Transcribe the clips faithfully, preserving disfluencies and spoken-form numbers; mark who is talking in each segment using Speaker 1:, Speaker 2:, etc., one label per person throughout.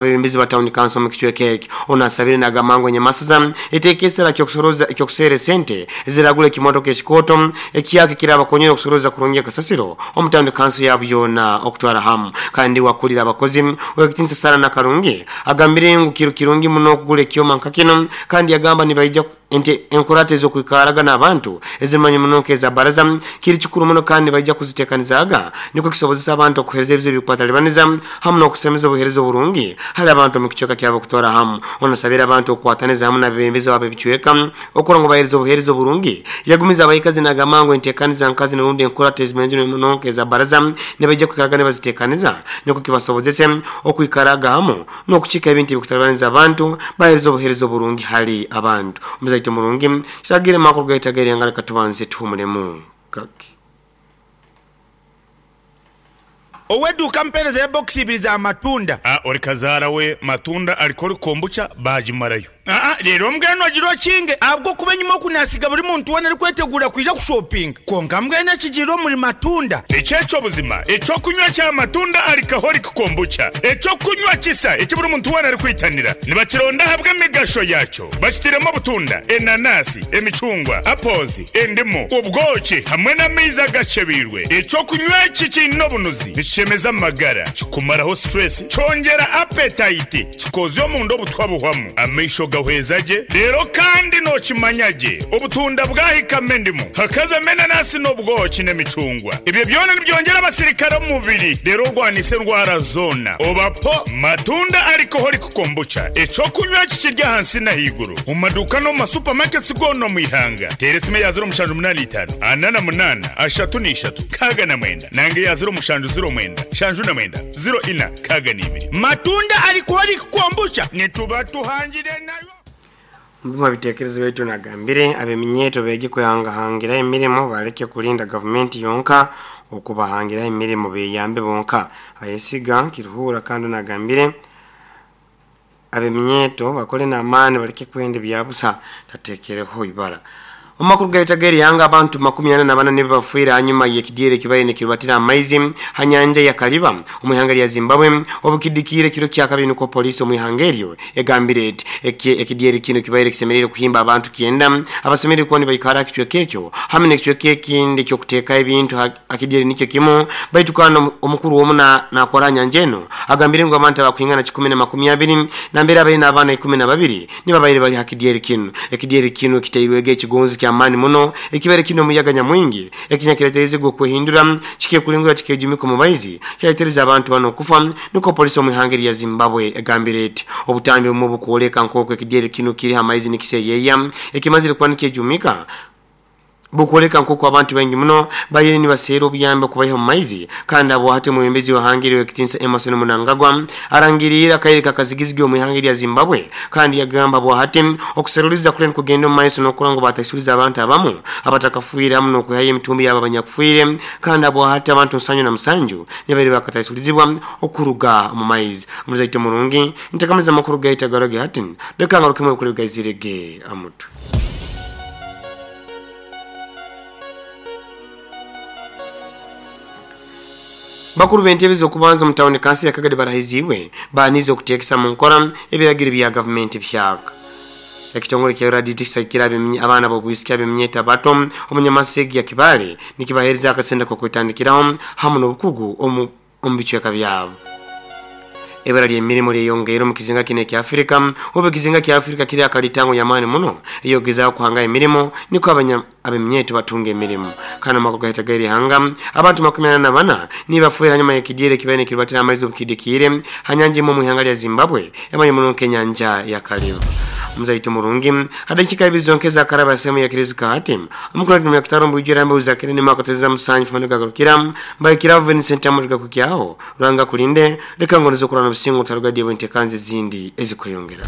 Speaker 1: Abebembezi ba town council mu kichweka ekyo onasabire nagamba nyamasaza etekesera kyokusoroza ekyokusere sente ziragula ekimotoka ekikoto ekiyake kirabakonyera okusoroza kurungi kasasiro omu town council yabo yona okutwara hamu. Kandi wakulira abakozi wekitinsa sara na karungi agambire ngu kiro kirungi muno okugula ekyoma nka kino, kandi yagamba nibaija ente enkurate ezokwikaraga n'abantu ezimanyi muno nk'eza baraza kiri kikuru muno, kandi baija kuzitekanizaga niko kisobozesa abantu okuhereza ebizibu ebikwatalibaniza hamu n'okusemeza obuhereza oburungi hali abantu mu kichweka kyabo kutwara hamu. Onasabira abantu okukwataniza hamu n'abebembezi babo ebichweka okura ngo bahereza obuhereza oburungi. Yagumiza abayikazi n'agamba ngu entekaniza nkazi n'orundi enkurate ezimanyi muno nk'eza baraza nibaija kwikaraga nibazitekaniza niko kibasobozese okwikaraga hamu n'okuchika ebintu ebikutalibaniza abantu bahereza obuhereza oburungi hali abantu. Omuzaito murungi kiragire makuru gaitagere ngale katubanze tuhumulemu kaki
Speaker 2: oweduka mpereza box ibiri za matunda.
Speaker 3: Ah, ori kazara we matunda alikori kombucha bajimarayo.
Speaker 2: Ah, rero mbweno agiro kinge abwo kuba nyuma kunasiga buri muntu wona ari kwetegura kuja ku shopping konka mbwene kigiro muri matunda.
Speaker 3: Echecho buzima echo kunywa cha matunda alikahori kombucha echo kunywa kisa eki buri muntu wona ari kwitanira nibakironda habwe migasho yacho bakitiremo butunda enanasi emicungwa apples endimu ubwoki hamwe n'amaizi agacebirwe. Echo kunywa iki kino bunuzi nikishemeza amagara kikumaraho stress cyongera appetite kikozyo mu ndo butwabuhwamu amaisho gahwezaje. Rero kandi nokimanyage obutunda bwahikame ndimu hakaza menanasi n'obwoki n'emicungwa ibyo byona nibyongera abasirikare mu mubiri rero rwanise ndwara zona obapo matunda alcoholic kombucha echo kunywa kikirya hansi na higuru mu maduka no mu supermarkets gono mu ihanga. Teresime ya zero mushanju munani itano anana munana ashatu n'ishatu kaga na mwenda nange ya zero mushanju zero mwenda shanju na mwenda zero ina kaga n'ibiri
Speaker 2: matunda alcoholic kombucha nituba tuhangire nayo.
Speaker 1: Mbima bitekerezo wetu nagambire abeminyeto bege kuhangahangira emirimo baleke kulinda government yonka okubahangira emirimo beyambe bonka. Ayesiga kiruhura kandi nagambire abeminyeto bakole na amani baleke kwende byabusa tatekereho ibara. Omakuru gaitageri yanga abantu makumi ana na bana nibe bafuira hanyuma yekidiere kibaye nikirubatira amaizi hanyanja ya Kariba omuhanga ya Zimbabwe obukidikire kiro kya kabiri nuko polisi omuhangeryo egambire eti ekidiere kino kibaye kisemerere kuhimba abantu kienda abasemerere kuba nibaikara kichweke ekyo hamwe n'ekichweke ekindi kyo kuteka ebintu akidiere nikyo kimu baitukana omukuru womuna nakora nyanjeno agambire ngo abantu abakwingana kikumi na makumi abiri na mbere abari n'abana ikumi na babiri nibabaire bali hakidiere kino. Ekidiere kino kitairwege ekigonzi kya amani muno ekibere kino muyaga nyamwingi ekinyakiretereze go kuhindura chikiye kulingura chikejumiko mu baizi kyatereza abantu bano kufa nuko polisi omuhangeri ya Zimbabwe egambire eti obutambi mu bukoleka nkoko ekidiere kino kiri hamaizi nikiseyeya ekimazire kwa nikejumika bukoleka nkoko abantu bengi muno bayire ni basero obuyambe kubaha mu maizi. Kandi abo hati mumbezi wa hangiri wekitinsa Emerson Mnangagwa arangirira kaireka kazigizigi omuhangiri ya Zimbabwe kandi yagamba abo hati okuseruliza kule kugenda mu maiso nokurango batasuliza abantu abamu abatakafuira hamu nokuhaye emitumbi yabo abanyakufuire. Kandi abo hati abantu nsanyu na musanju nibari bakatasulizibwa okuruga mu maizi. Muzaito murungi ntakameza makuru gaita garoge hati leka ngarukemwe kule gaizirege amutu. Bakuru b'entebe okubanza mu town council ya Kagadi barahiziwe banize okutekesa mu nkora ebiragiro bya government byaka. Ekitongole kya R D T kisakira abaana b'obwisiki ab'eminyeta bato omunyamasegi ya Kibale nikibahereza akasenda ko kwetandikiraho hamu n'obukugu omu bichweka byabo. Ebara ly'emirimu lyeyongeire mu kizinga kino ekya Afrika oba ekizinga kya Afrika kiri akalitango yamaani muno eyogezaako kuhanga emirimu niko abeminyeto batunga emirimu. Kana makuru gaitageri hanga abantu makumi ana na bana nibafuira hanyuma y'ekidiere kibaye nikirubatira amaizi obukidikire hanyanja imwe mu ihanga lya Zimbabwe emanye muno nk'enyanja ya Kariba. Muzaito murungi hadakika ibizonkeza karaba sehemu ya Kirizika hati omukuru wa kitaro mbujira mbe uzakire ni makoteza musanyu fanuka garukira mbaikira Vincent Amuriga kukyaho ranga kulinde leka ngonezo kurana busingo tarugadiye bwentekanze zindi ezikweyongera.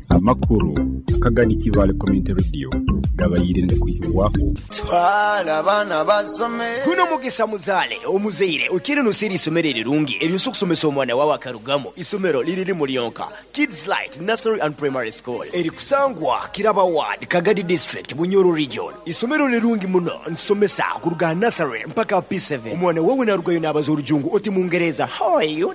Speaker 4: Abantu Amakuru akagadi Kibale Community Radio gabayire ngakuhibwaho.
Speaker 5: Twala abaana basome.
Speaker 6: Guno mugisa muzaale omuzaire okire nosera isomero erirungi eryosa okusomesa omwana wawe akarugamo. Isomero liriri mulyonka, Kids Light Nursery and Primary School, erikusangwa Kiraba Ward, Kagadi District, Bunyoro Region. Isomero lirungi muno, nsomesa kuruga nursery mpaka P seven. Omwana wawe narugayo nabaza orujungu oti mungereza, "How are you?"